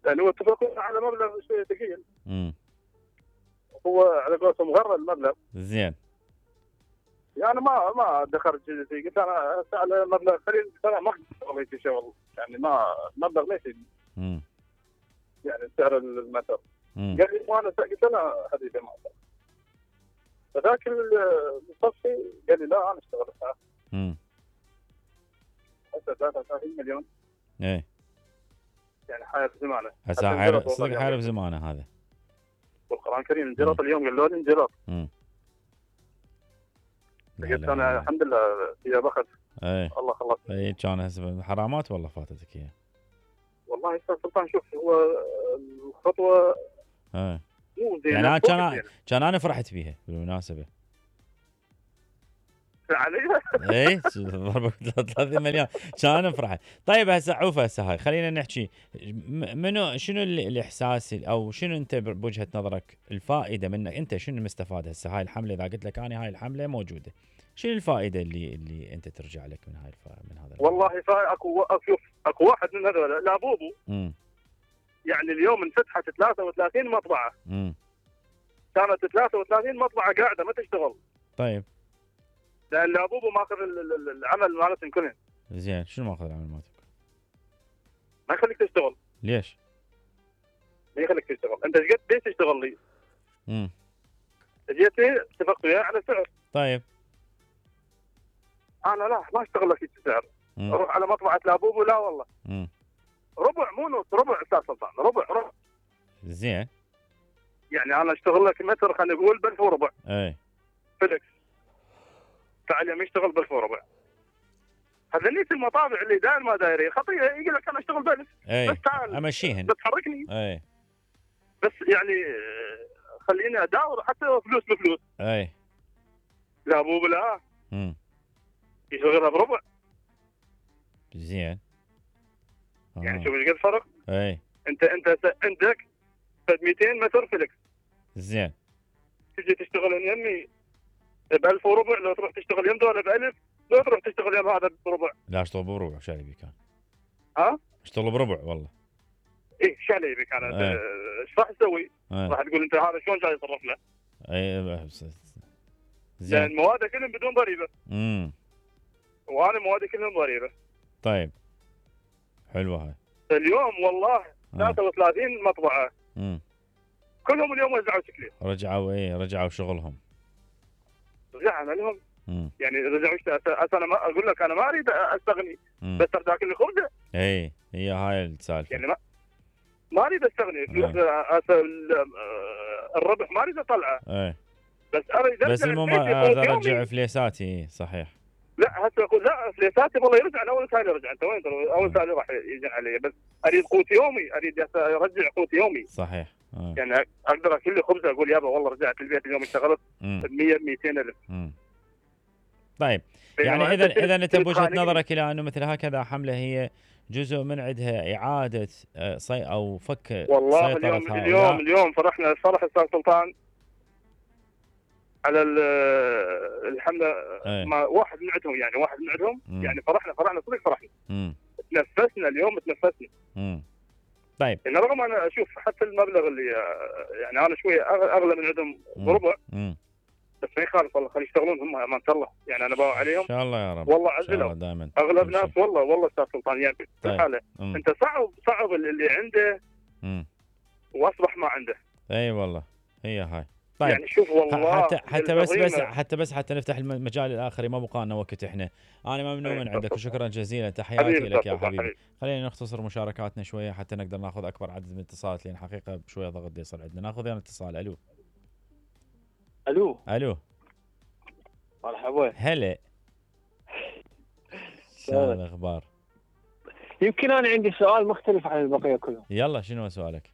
لانه هو اتفقوا على مبلغ شويه ثقيل. امم هو على قولتهم غرى المبلغ. زين. يعني ما ما دخلت فيه، قلت انا على مبلغ قليل ترى ما اقدر في شغل، يعني ما مبلغ ليش امم يعني سعر المتر. امم قال لي وانا قلت له حبيبي ما اقدر. فذاك المصفي قال لي لا انا اشتغل الساعه. امم هسه ثلاثة وثلاثين مليون. ايه يعني حياه زمانه. هسه حارب صدق حارب زمانه هذا. والقران الكريم انجلط اليوم قالوا لي انجلط. امم قلت انا الحمد لله يا بخت. ايه الله خلص. ايه كان هسه حرامات والله فاتتك اياها. والله استاذ سلطان شوف هو الخطوه ايه مو زينه. يعني انا كان كان انا فرحت بيها بالمناسبه. علي؟ ايه ضربك ثلاثين مليون كان انا فرحت. طيب هسه عوفه هسه هاي خلينا نحكي منو شنو الاحساس او شنو انت بوجهه نظرك الفائده منك انت شنو مستفاد هسه هاي الحمله اذا قلت لك انا هاي الحمله موجوده شنو الفائده اللي اللي انت ترجع لك من هاي الف... من هذا؟ والله اكو شوف اكو واحد من هذول لا بوبو امم يعني اليوم انفتحت ثلاثة وثلاثين مطبعه. امم كانت ثلاثة وثلاثين مطبعه قاعده ما تشتغل. طيب لان لابوبو ماخذ العمل مالتهم كلهم. زين شنو ماخذ العمل مالتك؟ ما يخليك تشتغل. ليش؟ ما يخليك تشتغل، انت ايش قد ليش تشتغل لي؟ امم جيتني اتفقت وياه على سعر. طيب انا لا ما اشتغل لك السعر. مم. اروح على مطبعه لابوبو لا والله. امم ربع مو نص ربع استاذ سلطان ربع ربع. زين يعني انا اشتغل لك متر خلينا نقول ب ألف وربع. اي فلكس. تعال يوم يشتغل ب ألف وربع. هذا نيت المطابع اللي داير ما دايرين خطيه يقول لك انا اشتغل ب ألف. اي بس تعال امشيهن بس حركني. اي بس يعني خليني اداور حتى فلوس بفلوس. اي لا ابو بلا امم يشغلها بربع. زين يعني شوف ايش قد فرق. اي انت انت عندك مئتين متر فلكس. زين تجي تشتغل يمي ب ألف وربع، لو تروح تشتغل يم دولة ب ألف، لو تروح تشتغل يم هذا بربع. لا اشتغل بربع وش علي بك كان؟ ها؟ اشتغل بربع والله. ايه ايش علي بك انا؟ ايش راح تسوي؟ راح تقول انت هذا شلون جاي يصرف له؟ اي زين لان مواده كلهم بدون ضريبه. امم وانا موادي كلهم ضريبه. طيب حلوه هاي. اليوم والله ثلاثة وثلاثين مطبعه. امم كلهم اليوم وزعوا تكليف. رجعوا ايه رجعوا شغلهم. رجعنا لهم. مم. يعني رجعوا انا ما اقول لك انا ما اريد استغني. مم. بس اريد اكل خبزه. اي هي هاي السالفه. يعني ما ما اريد استغني الربح ما اريد اطلعه. اي بس اريد بس المهم ارجع فليساتي صحيح. لا هسه اقول لا فليساتي والله يرجع انا اول سالي رجع انت وين اول سالي راح يجي علي بس اريد قوت يومي اريد ارجع قوت يومي. صحيح. آه. يعني اقدر اكل لي خبزه اقول يابا والله رجعت البيت اليوم اشتغلت ب مئة مئتين الف. امم طيب يعني اذا اذا انت بوجهه نظرك الى انه مثل هكذا حمله هي جزء من عندها اعاده صي او فك والله اليوم هؤلاء. اليوم اليوم فرحنا فرح استاذ سلطان على الحمله ايه. ما واحد من عندهم يعني واحد من عندهم مم. يعني فرحنا فرحنا صدق فرحنا. امم تنفسنا اليوم تنفسنا. امم طيب يعني رغم انا اشوف حتى المبلغ اللي يعني انا شويه اغلى من عندهم بربع. امم بس ما يخالف والله خلي يشتغلون هم امانه الله يعني انا باوع عليهم ان شاء الله يا رب والله عزلهم دائما اغلب ناس والله والله استاذ سلطان يعني طيب. الحاله انت صعب صعب اللي عنده امم واصبح ما عنده. اي والله هي هاي. طيب يعني شوف والله حتى حتى بس بس حتى بس حتى نفتح المجال الاخر ما بقى لنا وقت احنا. انا ممنون من عندك وشكرا جزيلا تحياتي لك يا حبيبي. خلينا نختصر مشاركاتنا شويه حتى نقدر ناخذ اكبر عدد من الاتصالات لان حقيقه بشويه ضغط يصل عندنا. ناخذ يعني اتصال. الو الو الو مرحبا هلا شلون الاخبار؟ يمكن انا عندي سؤال مختلف عن البقيه كلهم. يلا شنو سؤالك؟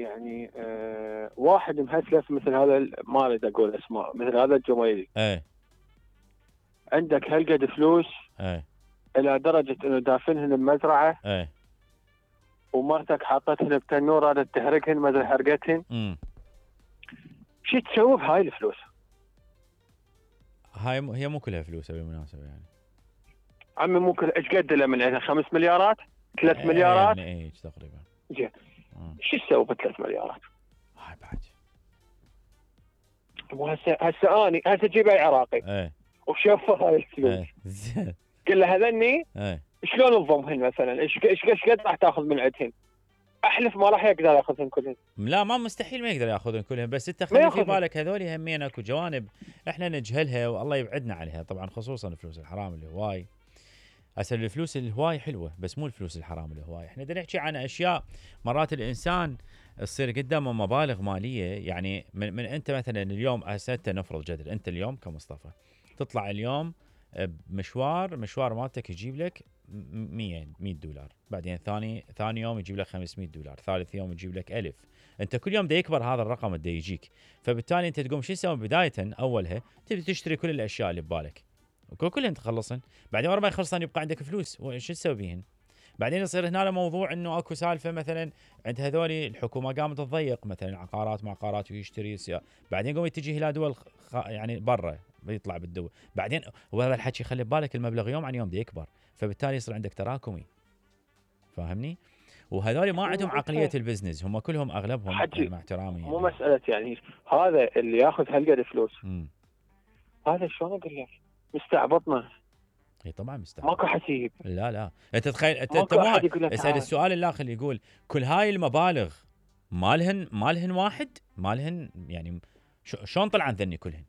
يعني آه واحد مهسلف مثل هذا، ما اريد اقول اسماء، مثل هذا الجميلي ايه عندك هالقد فلوس ايه الى درجه انه دافنهن بمزرعه، ايه ومرتك حاطتهن بتنور رادت تحرقهن ما ادري حرقتهن. امم شو تسوي بهاي الفلوس؟ هاي م... هي مو كلها فلوس بالمناسبه يعني. عمي مو كل ايش قد له من عندها؟ خمس مليارات؟ ثلاث ايه مليارات؟ يعني ايه تقريبا. زين شو تسوي بثلاث مليارات؟ هاي بعد وهسه هسه اني هسه جيب اي عراقي ايه وشوف هاي الفلوس ايه زين قل له هذني ايه شلون تضمهن مثلا؟ ايش ايش ايش قد راح تاخذ من عندهن؟ احلف ما راح يقدر ياخذهن كلهن. لا ما مستحيل ما يقدر ياخذهن كلهن، بس انت خلي في بالك هذول همين اكو جوانب احنا نجهلها والله يبعدنا عليها، طبعا خصوصا الفلوس الحرام الهواي. هسه الفلوس الهواي حلوه بس مو الفلوس الحرام الهواي، احنا بدنا نحكي عن اشياء مرات الانسان تصير قدامه مبالغ ماليه، يعني من, من انت مثلا اليوم هسه نفرض جدل انت اليوم كمصطفى تطلع اليوم بمشوار مشوار مالتك يجيب لك مية مية دولار، بعدين ثاني ثاني يوم يجيب لك خمسمية دولار، ثالث يوم يجيب لك ألف، انت كل يوم دا يكبر هذا الرقم دا يجيك، فبالتالي انت تقوم شو تسوي بدايه اولها تبي تشتري كل الاشياء اللي ببالك كلهن تخلصن، بعدين ورا ما يخلصن يبقى عندك فلوس شو تسوي بيهن؟ بعدين يصير هنا موضوع انه اكو سالفه مثلا عند هذول الحكومه قامت تضيق مثلا عقارات معقارات ويشتري سيارة. بعدين قوم يتجه الى دول خ... يعني برا بيطلع بالدول، بعدين وهذا الحكي خلي ببالك المبلغ يوم عن يوم دي يكبر، فبالتالي يصير عندك تراكمي، فاهمني؟ وهذول ما عندهم عقليه البزنس، هم كلهم اغلبهم مع احترامي مو يعني. مساله يعني هذا اللي ياخذ هالقد فلوس م. هذا شلون اقول لك مستعبطنا. اي طبعا مستحيل ماكو حسيب. لا لا انت تخيل انت انت اسال السؤال الاخر اللي يقول كل هاي المبالغ مالهن مالهن واحد مالهن يعني شلون طلعن ذني كلهن؟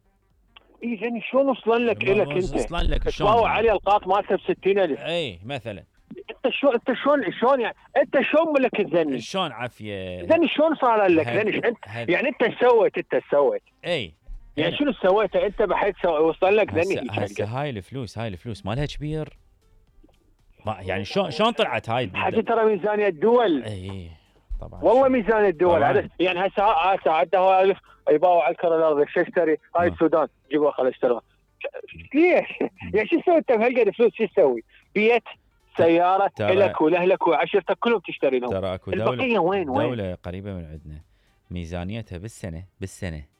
اي ذني شلون وصلن لك الك انت؟ وصلن لك شلون؟ تساوي علي القاط مالته ب ستين ألف. اي مثلا انت شلون انت شلون شلون يعني انت شلون ملك الذني؟ شلون عافيه؟ ذني شلون صار لك؟ ذني يعني انت سويت انت سويت اي يعني شنو سويته انت بحيث وصل لك ذني؟ هسه هاي الفلوس هاي الفلوس مالها كبير يعني شلون شلون طلعت هاي؟ حتى ترى ميزانيه الدول. اي طبعا والله ميزانيه الدول عدد يعني هسه هسه عدها ألف يباوع على الكره الارضيه شو اشتري؟ هاي السودان جيبوها خل اشتريها. ليش؟ يعني شو تسوي انت بهالقد فلوس؟ شو تسوي؟ بيت سياره لك ولاهلك وعشيرتك كلهم تشتري لهم. ترى اكو دوله وين وين؟ دوله قريبه من عندنا ميزانيتها بالسنه بالسنه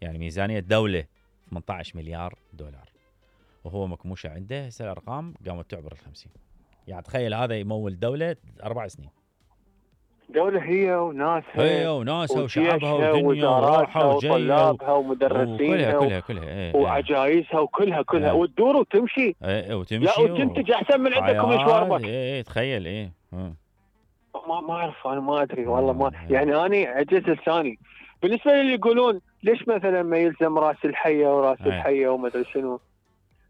يعني ميزانيه دوله ثمانية عشر مليار دولار وهو مكموشه عنده هسه الارقام قامت تعبر ال خمسين، يعني تخيل هذا يمول دوله اربع سنين. دولة هي وناسها هي وناسها وشعبها ودنيا وروحها وطلابها ومدرسينها كلها كلها ايه وعجايزها وكلها كلها ايه وتدور وتمشي ايه وتمشي لا وتنتج احسن من عندكم مشوارك. ايه تخيل ايه ما ما اعرف انا ما ادري والله ما يعني انا عجز لساني بالنسبه للي يقولون ليش مثلا ما يلزم راس الحيه وراس ايه. الحيه وما ادري شنو،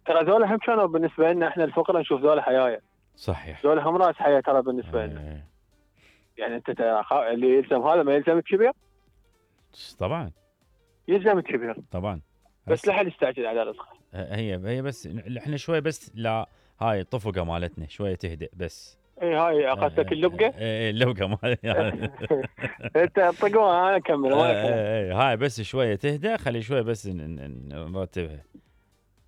ترى ذولا هم كانوا بالنسبه لنا احنا الفقراء نشوف ذولا حيايه. صحيح ذولا هم راس حياه ترى بالنسبه لنا. ايه. يعني انت اللي يلزم هذا ما يلزم الكبير؟ طبعا يلزم الكبير طبعا بس لا حد يستعجل على رزقه. هي هي بس احنا شوي بس لا هاي الطفقه مالتنا شويه تهدئ بس. اي هاي اخذتك اللبقه؟ اي اللبقه مال يعني انت طقوها انا اكمل اي هاي بس شويه تهدى خلي شويه بس نرتبها.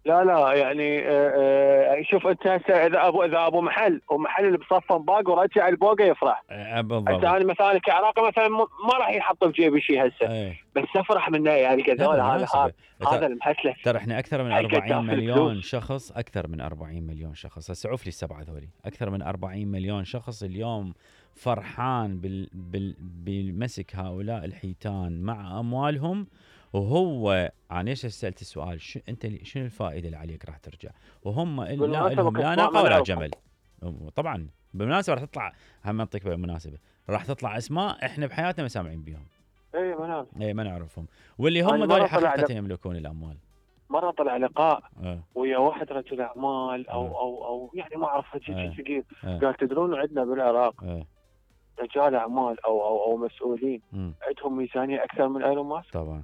لا لا يعني آه شوف انت هسه اذا ابو اذا ابو محل ومحل اللي بصفن باق ورجع البوقه يفرح. بالضبط. هسه انا مثلا كعراقي مثلا ما راح يحط بجيبي شيء هسه أيه. بس افرح منه يعني كذول هذا هذا هذا المحسلف. ترى احنا اكثر من أربعين مليون شخص اكثر من أربعين مليون شخص هسه عوف لي السبعه ذولي اكثر من أربعين مليون شخص اليوم فرحان بال بال بمسك هؤلاء الحيتان مع اموالهم. وهو انا ليش سالت السؤال شو انت شنو الفائده اللي عليك راح ترجع وهم لا لهم لا ناقه ولا جمل. طبعا بالمناسبه راح تطلع هم منطقه بالمناسبه راح تطلع اسماء احنا بحياتنا ما سامعين بيهم. اي ما نعرف اي ما نعرفهم واللي هم ذول حقيقه يملكون الاموال. مره طلع لقاء أه. ويا واحد رجل اعمال او أه. او او يعني ما اعرف شيء ثقيل أه. قال تدرون عندنا بالعراق أه. رجال اعمال او او او مسؤولين م. عندهم ميزانيه اكثر من ايلون ماسك. طبعا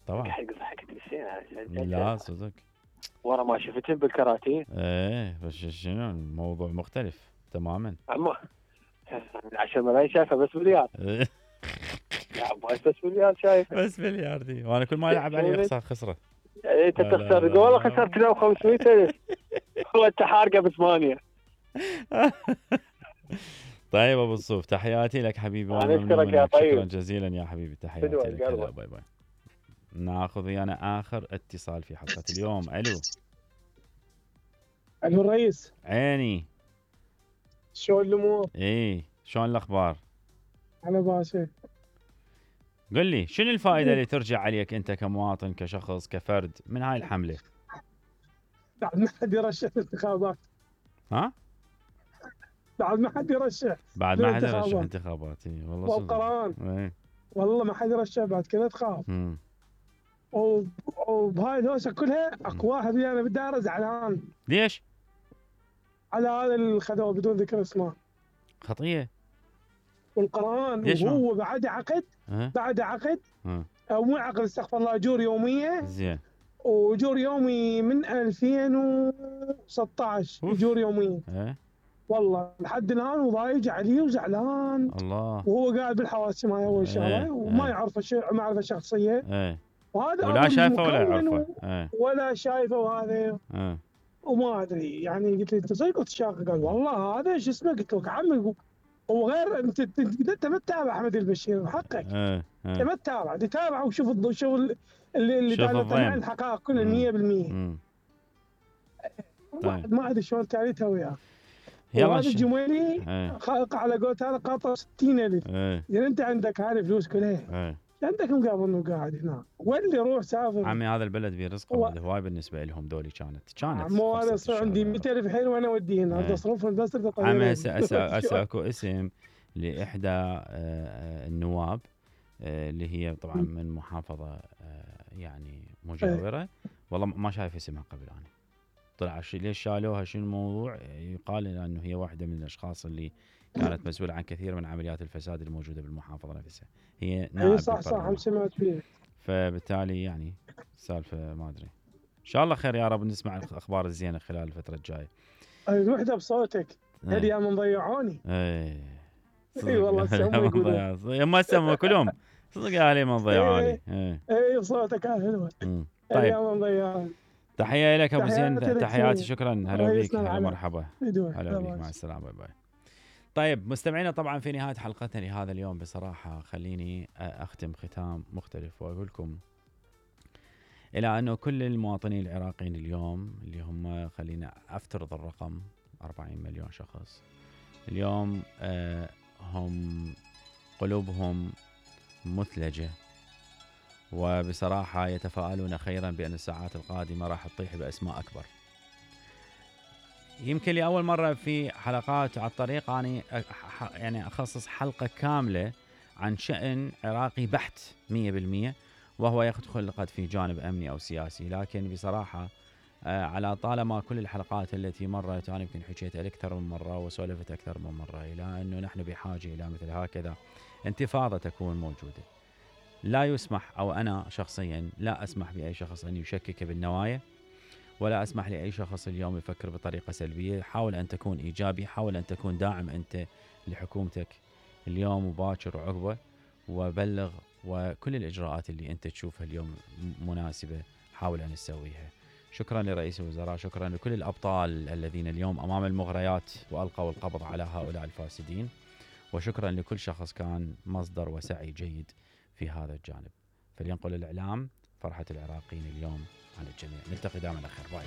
طبعا ضحكت بالسين لا صدق ورا ما شفتهم بالكراتين. ايه بس شنو الموضوع مختلف تماما. عمو عشرة ملايين شافه بس مليار. يا عباس بس مليار شايف بس ملياردي وانا كل ما العب عليه اخسر خسره. انت تخسر والله خسرت له خمسمية ألف هو انت حارقه بثمانيه. طيب ابو الصوف تحياتي لك حبيبي انا اشكرك يا طيب. شكرا جزيلا يا حبيبي تحياتي لك. هلا باي باي. ناخذ ويانا اخر اتصال في حلقه اليوم. الو الو الرئيس عيني شلون الامور؟ ايه شلون الاخبار؟ على باشا. قل لي شنو الفائده اللي ترجع عليك انت كمواطن كشخص كفرد من هاي الحمله؟ بعد ما حد يرشح الانتخابات. ها؟ بعد ما حد يرشح بعد ما حد يرشح انتخابات. اي والله صدق. والقران ايه والله ما حد يرشح بعد كذا تخاف. امم وبهاي الهوسه كلها اكو واحد ويانا بالدائره زعلان. ليش؟ على هذا الخذوه بدون ذكر اسمه. خطيه. والقران وهو بعد عقد أه؟ بعد عقد أه؟ او مو عقد استغفر الله اجور يوميه. زين. واجور يومي من ألفين وستة عشر اجور يوميه. أه؟ والله لحد الان وضايج عليه وزعلان. الله. وهو قاعد بالحواسم هاي اول شغله. أه؟ وما أه؟ يعرفه شيء معرفه شخصيه. أه؟ وهذا ولا شايفه ولا يعرفه. أه؟ ولا شايفه وهذا. أه؟ وما ادري يعني قلت له انت صدق قلت شاق؟ قال والله هذا شو اسمه. قلت له عمي وغير انت انت ما تتابع احمد البشير حقك. أه؟ انت ما تتابع تتابع وشوف الشغل اللي اللي دالت عن الحقائق كلها مية بالمية. طيب. ما ادري شلون تعريتها وياه. يلا هذا الجميلي خلق على قولت هذا قاطع ستين ألف. يعني انت عندك هاي الفلوس كلها. عندك مقابل انه قاعد هنا واللي يروح سافر. عمي هذا البلد برزقه و... هواي بالنسبه لهم دولي كانت كانت مو انا صار عندي مئة ألف حيل وانا اوديه هنا بدي اصرفهم بس طيارين. عمي هسه هسه اكو اسم لاحدى النواب اللي هي طبعا من محافظه يعني مجاوره. والله ما شايف اسمها قبل انا. طلع ليش شالوها شنو الموضوع؟ يقال انه هي واحده من الاشخاص اللي كانت مسؤوله عن كثير من عمليات الفساد الموجوده بالمحافظه نفسها. هي نائب. صح صح هم سمعت فيه. فبالتالي يعني سالفه ما ادري. ان شاء الله خير يا رب نسمع الاخبار الزينه خلال الفتره الجايه. الوحده بصوتك هل يا من ضيعوني. اي اي والله سموا يقولون ما سموا كلهم صدق يا علي من ضيعوني. اي اي بصوتك حلوه. طيب يا من ضيعوني. تحيه لك ابو زين. تحياتي شكرا. هلا بيك. هلا مرحبا. هلا بيك مع السلامه. باي باي. طيب مستمعينا طبعا في نهايه حلقتنا لهذا اليوم بصراحه خليني اختم ختام مختلف واقول لكم الى انه كل المواطنين العراقيين اليوم اللي هم خلينا افترض الرقم أربعين مليون شخص اليوم آه هم قلوبهم مثلجه وبصراحه يتفائلون خيرا بان الساعات القادمه راح تطيح باسماء اكبر. يمكن لأول مرة في حلقات على الطريق أنا يعني أخصص حلقة كاملة عن شأن عراقي بحت مية بالمية وهو يدخل قد في جانب أمني أو سياسي. لكن بصراحة على طالما كل الحلقات التي مرت أنا يمكن حكيت أكثر من مرة وسولفت أكثر من مرة إلى أنه نحن بحاجة إلى مثل هكذا انتفاضة تكون موجودة. لا يسمح أو أنا شخصيا لا أسمح بأي شخص أن يشكك بالنوايا ولا أسمح لأي شخص اليوم يفكر بطريقة سلبية. حاول أن تكون إيجابي. حاول أن تكون داعم أنت لحكومتك اليوم وباكر وعقبه وبلغ وكل الإجراءات اللي أنت تشوفها اليوم مناسبة حاول أن تسويها. شكرا لرئيس الوزراء. شكرا لكل الأبطال الذين اليوم أمام المغريات وألقوا القبض على هؤلاء الفاسدين. وشكرا لكل شخص كان مصدر وسعي جيد في هذا الجانب. فلينقل الإعلام فرحة العراقيين اليوم عن الجميع. نلتقي دائما على خير. باي.